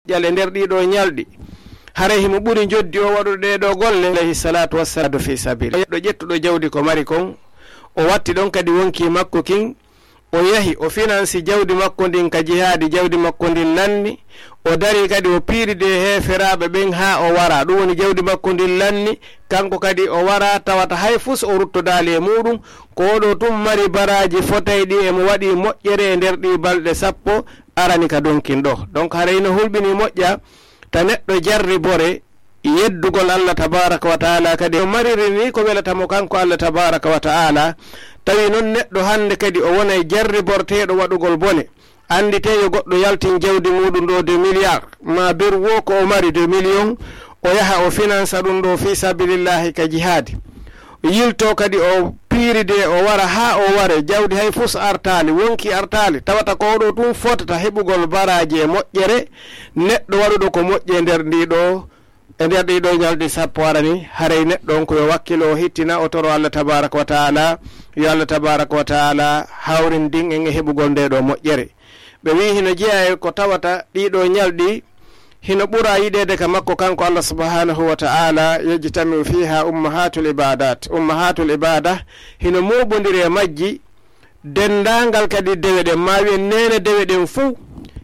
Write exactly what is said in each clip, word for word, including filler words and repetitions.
moƴƴal e nder ɗii ɗoo ñalɗi. Haray himo ɓuri njoddi o waɗude ɗee ɗoo golle, alayhi salatu wassalam, fi sabili. Neɗɗo ƴettuɗo jawdi ko mari kon, o watti ɗon kadi wonkii makko kin, o yahi, o finansi jawdi makko ndin ka jihaadi, jawdi makko ndin lanni, o dari kadi o piiridi e heeferaaɓe ɓen haa o wara. Ɗum woni jawdi makko ndin lanni, kanko kadi o wara tawata hay fus o ruttodaali e muuɗum. Ko o ɗoo tun mari baraaji fotayɗi e mo waɗi moƴƴere e nder ɗii balɗe sappo arani ka donkin ɗoo. Donc, haray no hulɓini moƴƴa ta neɗɗo jarribore yeddugol Allah tabaraka wa taala, kadi o mariri ni ko welata mo kanko Allah tabaraka wa taala. Tawi non neɗɗo hannde kadi o wonay jarriborteeɗo waɗugol bone. Annditee yo goɗɗo yaltin jawdi muuɗum ɗoo de milliard, ma beru wo ko o mari de million, o yaha o finansa ɗum ɗoo fi sabilillahi ka jihaadi. Yilto kadi o piiride, o wara haa o ware, jawdi hay fus artaali, wonki artaali, tawata ko o ɗoo tun fotata heɓugol baraaji e moƴƴere, neɗɗo waɗuɗo ko moƴƴi e nder ndi ɗoo, e nder ɗii ɗoo ñalɗi sappo arani, haray neɗɗo on ko yo wakkilo, o hittina, o toro Allah tabaraka wa taala, yo Allah tabaraka wa taala hawrindin en e heɓugol nde ɗoo moƴƴere. Ɓe wi'i hino jeyaa e ko tawata ɗii ɗoo ñalɗi hino ɓura yiɗeede ka makko kanko Allah subhanahu wa taala, yajtami'u fiha ummahatul ibadat. Ummahatul ibada hino mooɓondiri e majji denndaangal kadi dewe ɗen, ma wi'en neene dewe ɗen fuu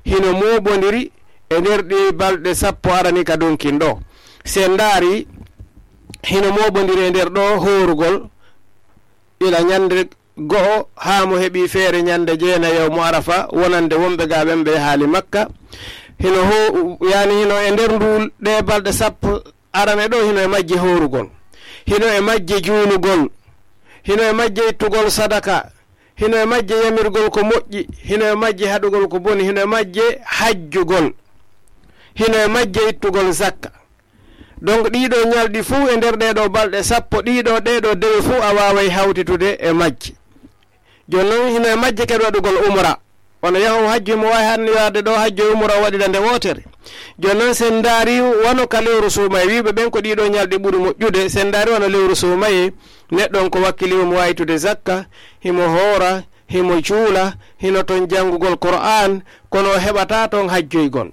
hino mooɓondiri e nder ɗii balɗe sappo arani ka donkin ɗoo. Si en ndaari, hino mooɓondiri e nder ɗoo hoorugol ila ñande go'o haa mo heɓi feere ñande jeenayi yawmu Arafa, wonande wonɓe gaa ɓen ɓe yahaali Makka. Hino ho-, yani hino e nder nduu ɗee balɗe sappo arane ɗoo, hino e majje hoorugol, hino e majje juulugol, hino e majje ittugol sadaka, hino e majje yamirgol ko moƴƴi, hino e majje haɗugol ko boni, hino e majje hajjugol, hino e majje ittugol zakka. Donc, ɗii ɗoo ñalɗi fuu e nder ɗee ɗoo balɗe sappo, ɗii ɗoo, ɗee ɗoo dewe fuu a waaway hawtitude e majji. Jooni non, hino e majje kadi waɗugol umra. Wano yahowo hajju, himo waawi hannde yaade ɗoo hajju e umra o waɗira nde wootere. Jooni non, si en ndaari wano ka lewru suumayee, wi'uɓe ɓen ko ɗii ɗoo ñalɗi ɓuri moƴƴude, si en ndaari wano lewru suumayee, neɗɗo on ko wakkili himo waawitude zakka, himo hoora, himo juula, hino ton janngugol Qur'aan, kono o heɓataa ton hajjoygol.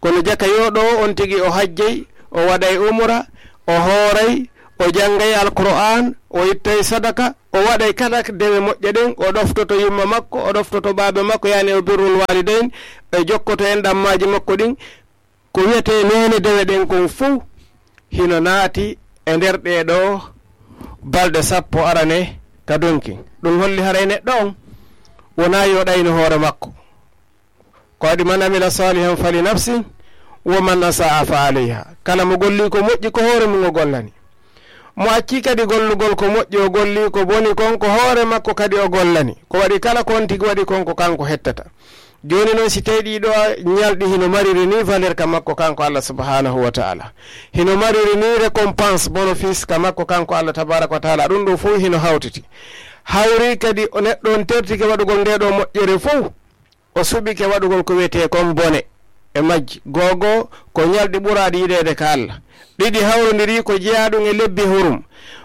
Kono jaka yo ɗoo on tigi o hajjay, o waɗay umra, o hooray, o janngay Alqur'aan, o ittay sadaka, o waɗay kala dewe moƴƴe ɗen, o ɗoftoto yumma makko, o ɗoftoto baaba makko, yani o birrul waalidayn, e jokkoto enɗammaaji makko ɗin. Ko wi'etee neene dewe ɗen kon fuu hino naati e nder ɗee ɗoo balɗe sappo arane ka donki. Ɗum holli haray neɗɗo on wonaa yo ɗayno hoore makko. Ko waɗi, "Man amila salihan fali nafsi, wa man asaa fa alayha." Kala mo golli ko moƴƴi, ko hoore mum o gollani. Mo acci kadi gollugol ko moƴƴi, o golli ko boni kon, ko hoore makko kadi o gollani. Ko waɗi, kala ko on tigi waɗi kon, ko kanko hettata. Jooni non, si tawi ɗii ɗoo ñalɗi hino mariri ni valeur ka makko kanko Allah subhanahu wa ta'ala, hino mariri ni récompense, bénéfice ka makko kanko Allah tabaraka wa ta'ala, ɗum ɗoo fof hino hawtiti. Hawri kadi o neɗɗo on tertike waɗugol nde ɗoo moƴƴere fof, o suɓike waɗugol ko wiyetee kon bone e majji. Googo ko ñalɗi ɓuraaɗi yiɗeede ka Allah. Ɗiɗi hawrondiri ko jeyaa ɗum e lebbi hurum.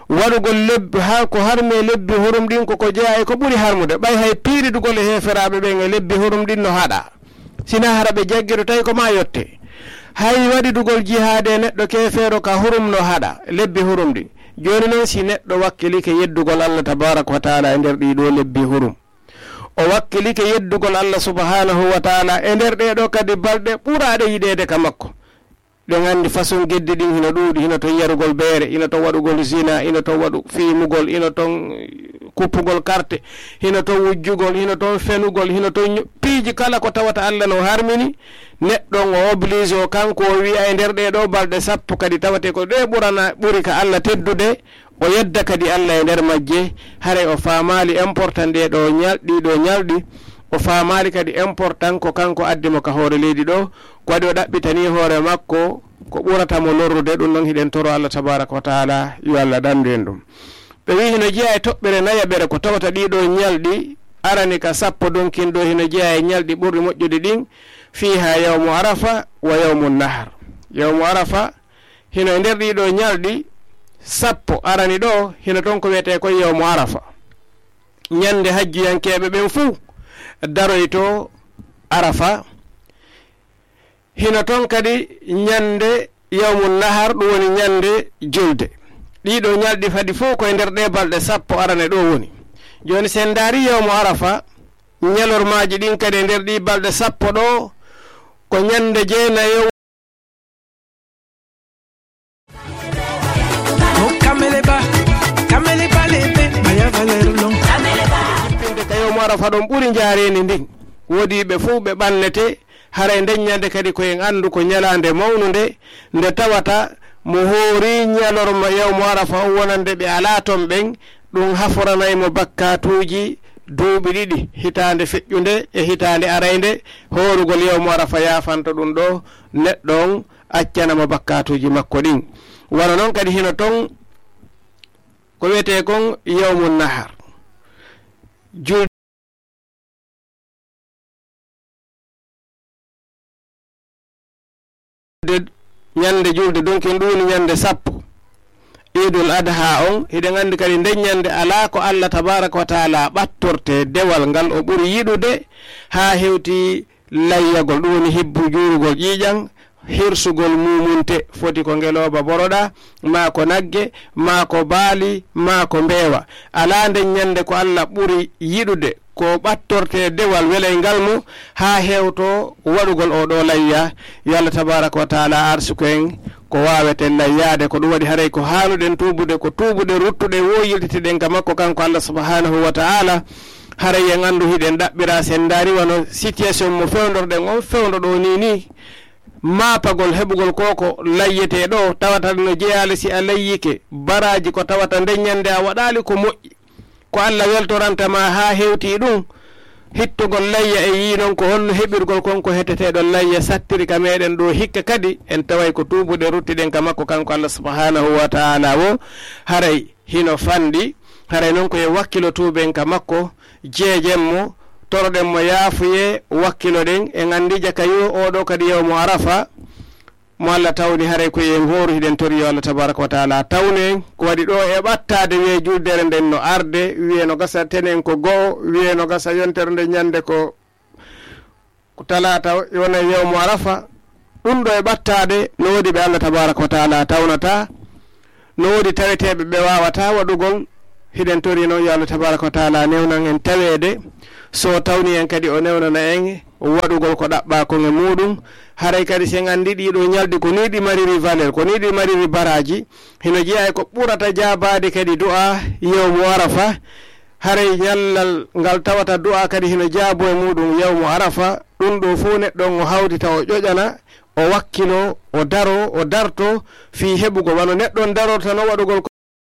Waɗugol lebbi, haa ko harmi e lebbi hurum ɗin ko ko jeyaa e ko ɓuri harmude. Ɓay hay piiridugol e heeferaaɓe ɓen e lebbi hurum ɗin no haɗa. Sinaa hara ɓe jaggiro tawi ko maa yotte. Hay waɗidugol jihaade e neɗɗo keefeero ka hurum no haɗa, lebbi hurum ɗin. Jooni non, si neɗɗo wakkilike yeddugol Allah tabaraka wa taala e nder ɗii ɗoo lebbi hurum, o wakkilike yeddugol Allah subhanahu wa taala e nder ɗee ɗoo kadi balɗe ɓuraaɗe yiɗeede ka makko. Ɗen anndi façon geddi ɗin hino ɗuuɗi, hino ton yarugol beere, hino ton waɗugol zina, hino ton waɗu fiimugol, hino ton kuppugol karte, hino ton wujjugol, hino ton fenugol, hino ton ñu-, piiji kala ko tawata Allah no harmini. Neɗɗo on o oblige o kanko o wi'a e nder ɗee ɗoo balɗe sappo kadi tawate ko ɗee ɓurana, ɓuri ka Allah teddude. O yedda kadi Allah e nder majje, haray o faamaali important ɗee ɗoo ñal-, ɗii ɗoo ñalɗi, o faamaali kadi important ko kanko addi mo ka hoore leydi ɗoo, ko waɗi o ɗaɓɓitanii hoore makko ko ɓurata mo lorrude. Ɗum non hiɗen toro Allah tabaraka wa taala yo Allah ɗanndu en ɗum. Ɓe wi'i hino jeyaa e toɓɓere nayaɓere ko tawata ɗii ɗoo ñalɗi arani ka sappo donkin ɗoo, hino jeyaa e ñalɗi ɓurɗi moƴƴude ɗin, fiiha yawmu Arafa wa yawmu nahar. Yawmu Arafa hino e nder ɗii ɗoo ñalɗi sappo arani ɗoo, hino ton ko wiyetee kon yawmu Arafa. Ñande hajjuyankeeɓe ɓen fuu daroyto Arafa. Hino ton kadi ñande yawmu nahar, ɗum woni ñande julde. Ɗiɗo ñalɗi fadi fof koye nder ɗe balɗe sappo arane ɗo woni. Jooni, si en ndaari yawmu Arafa, ñalormaaji ɗin kadi e nder ɗi balɗe sappo ɗo, ko ñande jeenayo. Kamele ba, kamele ba lebe, maya valero long. Jippinde ka yawmu Arafa ɗon ɓuri njaareendi ndin. Woodi ɓe fof ɓe ɓannete, haray nden ñande kadi ko en anndu ko ñalaande mawnunde, nde tawata mo hoori ñalorma yawmu Arafa o wonande ɓe alaa ton ɓen, ɗum haforanay mo bakkaatuuji duuɓi ɗiɗi, hitaande feƴƴunde e hitaande araynde, hoorugol yawmu Arafa yaafanto ɗum ɗo neɗɗo on, accana mo bakkaatuuji makko ɗin. Wano non kadi hino ton ko wiyetee kon yawmu nahar. Julde, ñande julde donkin ɗum woni ñande sappo. Iidul Adha on, hiɗen anndi kadi nden ñande alaa ko Allah tabaaraka wa taala ɓattorte dewal ngal o ɓuri yiɗude haa hewti layyagol, ɗum woni hibbu juurugol ƴiiƴan, hirsugol muumunte, foti ko ngelooba boroɗa, maa ko nagge, maa ko baali, maa ko mbeewa. Alaa nden ñande ko Allah ɓuri yiɗude, ko ɓattorte dewal welayngal mo, haa hewto waɗugol oo ɗoo layya. Yo Allah tabaaraka wa taala arsuku en ko waaweten layyaade, ko ɗum waɗi haray ko haanuɗen tuubude, ko tuubuɗen, ruttuɗen, woo yiltitiɗen ka makko kanko Allah subhaanahu wa taala. Haray en anndu hiɗen ɗaɓɓira, si en ndaari wano situation mo fewndorɗen on fewndo ɗoo nii nii, maapagol heɓugol koko layyetee ɗoo, tawata no jeyaali si a layyike, baraaji ko tawata nden ñande a waɗaali ko moƴƴi, ko Allah weltoranta ma haa hewti ɗum, hittugol layya e yii non ko honno heɓirgol kon ko heteteeɗo layya sattiri ka meɗen ɗoo hikka kadi, en taway ko tuubuɗen ruttiɗen ka makko kanko Allah subhaanahu wa taala wo, haray hino fanɗi, haray non ko en wakkilo tuuben ka makko, jeejen mo, toroɗen mo yaafuyee, wakkiloɗen, en anndi jaka yo oo ɗoo kadi yawmu Arafa, mo Allah tawni, haray ko en hooru, hiɗen tori yo Allah tabaaraka wa taala tawnu en. Ko waɗi ɗoo e ɓattaade, wiyee juldere nden no arde, wiyee no gasa tenen ko go'o, wiyee no gasa yontere nden ñande ko ko talaata, wona yawmu Arafa. Ɗum ɗoo e ɓattaade, no woodi ɓe Allah tabaaraka wa taala tawnata, no woodi taweteeɓe ɓe waawataa waɗugol. Hiɗen tori non yo Allah tabaaraka wa taala newnan en taweede, so tawni en kadi o newnana en waɗugol ko ɗaɓɓaa kon e muuɗum. Haray kadi si en anndi ɗii ɗoo ñalɗi ko nii ɗi mariri valeur, ko nii ɗi mariri baraaji, hino jeyaa e ko ɓurata jaabaade kadi du'a yawmu Arafa. Haray ñallal ngal tawata du'a kadi hino jaabo e muuɗum yawmu Arafa, ɗum ɗoo fof neɗɗo on o hawtita o ƴoƴana, o wakkilo, o daro, o darto fii heɓugol, wano neɗɗo on darorta no waɗugol ko